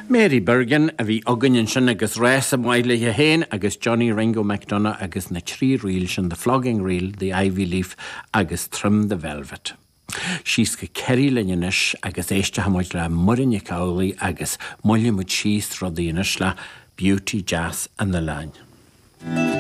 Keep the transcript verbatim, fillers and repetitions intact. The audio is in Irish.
Mary Bergin a bhí againn ansin agus rása maith léi féin agus Johnny Ringo McDonagh agus na trí ríl sin the Flogging Reel, the Ivy Leaf agus Trim the Velvet. Síos go Kerry linn anois agus éistfimid le Muireann Nic Amhlaoibh agus buailfimid síos rudaí anois le Beauty Jazz an Oileáin.